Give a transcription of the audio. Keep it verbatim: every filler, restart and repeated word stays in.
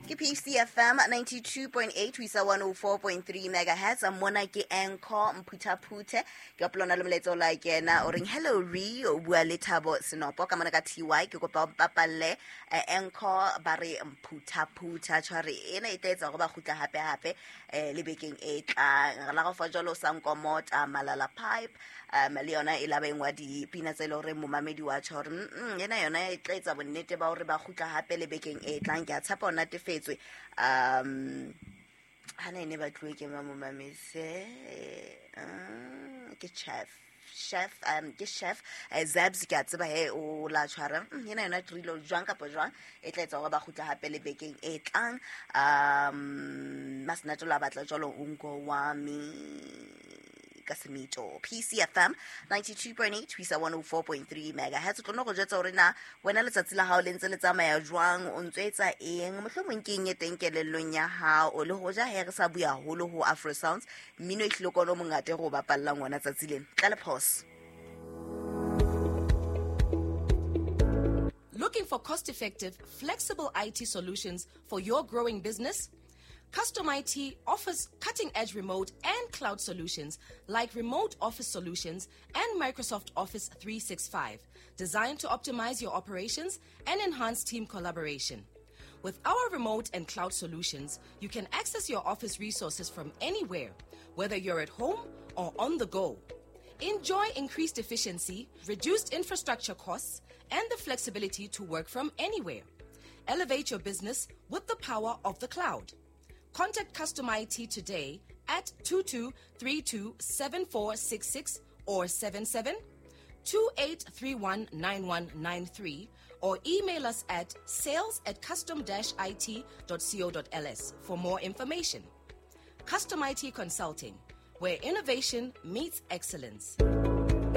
Ke P C F M ninety-two point eight ho isa one oh four point three megahertz. Mona ke Anchor Mphuthaphuthe. Ke opolona le molaetsa o la kena o reng, "Hello re o bua le Thabo Senopo ka mona ka T Y. Ke kopa o mpapalle eh, Anchor ba re Mphuthaphutha." Tshware ena e tla etsa hore ba kgutla hape hape eh, le bekeng e tlang. Re la go fa jwalo sa nkomota Malala Pipe um le yona e la ba engwa dipina tse e le hore momamedi wa tjho hore mm, mm, ena yona e tla etsa bonnete ba hore ba kgutla hape le bekeng e tlang. Ke a tshepa o natefetswe. um hana e ne batluwe ke ma momamise uh, ke chef chef um ke chef eh, Zabs. Ke a tseba he o la tshwara Mm, ena yona trilo jwang kapa jwang e tla etsa hore ba kgutla hape le bekeng e tlang. um Masenatolo a batla jwalo unko wa mi ka semito. P C F M ninety-two point eight ho isa one oh four point three megahertz. O tlo no go jwetsa hore na wena letsatsi la hao le ntse le tsamaya jwang, o ntso etsa eng, mohlomong ke eng e teng kelellong ya hao. Le hoja he re sa bua haholo ho Afro Sounds, mmino e hlile kona o mongata e re o bapallang wona tsatsi lena tla le pause. Looking for cost effective, flexible I T solutions for your growing business? Custom I T offers cutting edge remote and cloud solutions like remote office solutions and Microsoft Office three sixty-five, designed to optimize your operations and enhance team collaboration. With our remote and cloud solutions, you can access your office resources from anywhere, whether you're at home or on the go. Enjoy increased efficiency, reduced infrastructure costs, and the flexibility to work from anywhere. Elevate your business with the power of the cloud. Contact Custom I T today at two two three two seven four six six or seven seven two eight three one nine one nine three or email us at sales at custom dash it dot co dot L S for more information. Custom I T Consulting, where innovation meets excellence.